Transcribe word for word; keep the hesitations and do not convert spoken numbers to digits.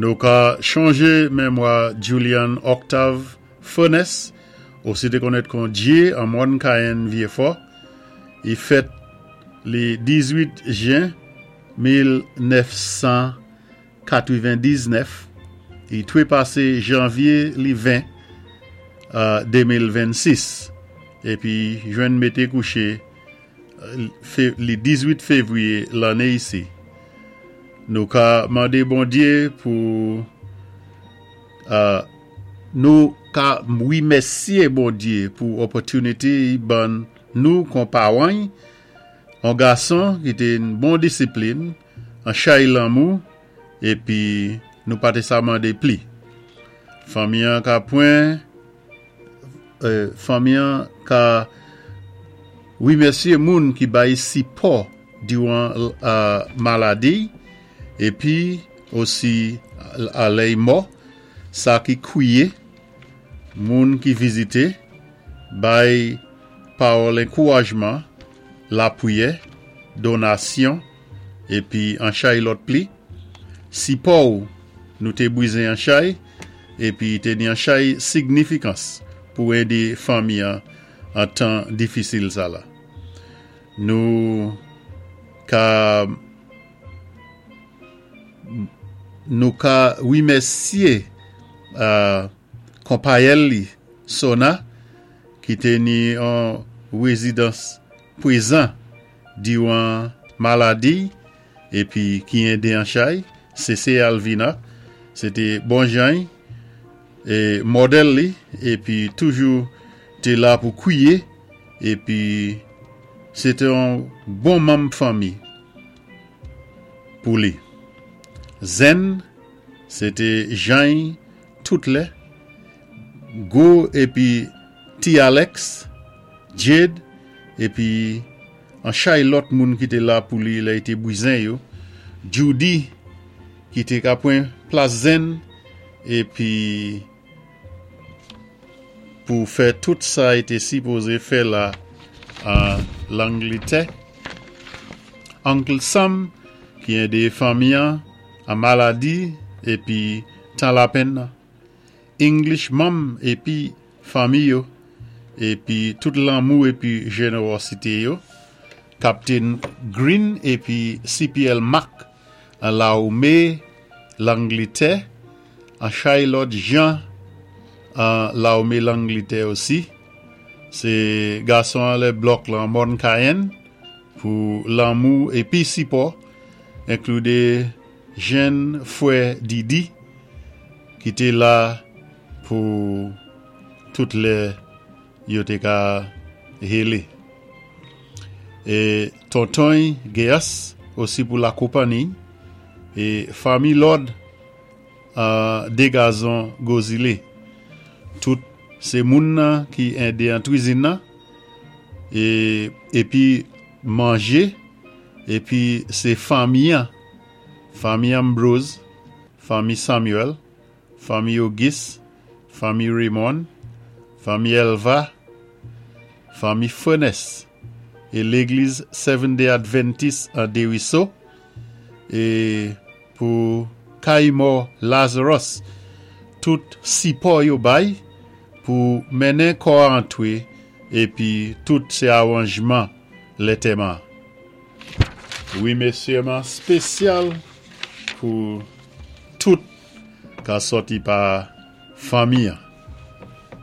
Nou ka chonjé mémwa Julian Octave Furness, osi té konnèt kon Jay an Mòn Cayenne Vieux-Fort. I fèt li diz-wit jen mil nèf san katwenn-diznèf. I twépasé janvyé li ven de mil vennsis. Épi jwenn mété kouché li diz-wit févwiyé lanné isi. Nou ka mandé Bondyé pou nou ka wimèsyé Bondyé pou opòtinité i ban nou kon pawan, an gason ki té ni bon disiplin, an chay lanmou, épi nou pa té sa mandé pli. Fanmi an ka pwen, fanmi an ka wimèsyé moun ki bay sipò diwan maladi, épi osi a lè i mò, sa ki kwiyé, moun ki vizité, bay pawòl ankourajman, lapwiyè, donasyon, épi an chay lòt pli. Sipò ou nou té bwizen an chay, épi té ni an chay signifikans pou édé fanmi an an tan difisil sa la. Nou ka nou ka wimèsyé konpayèl li Sona ki té ni an wézidans pwézan diwan maladi épi ki édé an chay, C C Alvina, sé té bon jan é modèl li épi toujou té la pou kwiyé épi sé té an bon manm fanmi pou li. Zen, sé té jan tout lè, Go épi Ti Alex, Jade, épi an chay lòt moun ki té la pou li lè i té bwizen yo, Judy, ki té ka pwan plas Zen, épi pou fè tout sa i té sipozé fè la an Langlitè. Uncle Sam, ki édé fanmi an, an maladi, épi tan lapenn nan. English Mom épi fanmi yo, épi tout lanmou épi jénéwozité yo. Captain Green épi C P L Mac an Lawmé Langlitè, an chay lòt jan an Lawmé Langlitè osi. Sé gason an lè blòk lan Mòn Cayenne pou lanmou épi sipò, enkloudé jenn fwè Didi ki té la pou tout lè yo té ka hélé. É tonton Geas osi pou lakonpanni é fanmi Lord uh, Degazon Gozile. Tout sé moun nan ki édé an kwizin nan é épi manjé épi sé fanmi an, fanmi Ambrose, fanmi Samuel, fanmi Auguste, fanmi Raymond, fanmi Elva, fanmi Furness é légliz Seventh Day Adventist an Desruisseaux é pou Kaimo Lazarus, tout sipò yo bay pou mennen kò antwé épi tout sé awanjman lantèman. Wimèsiman spésyal pou tout ka sòti pa fanmi an.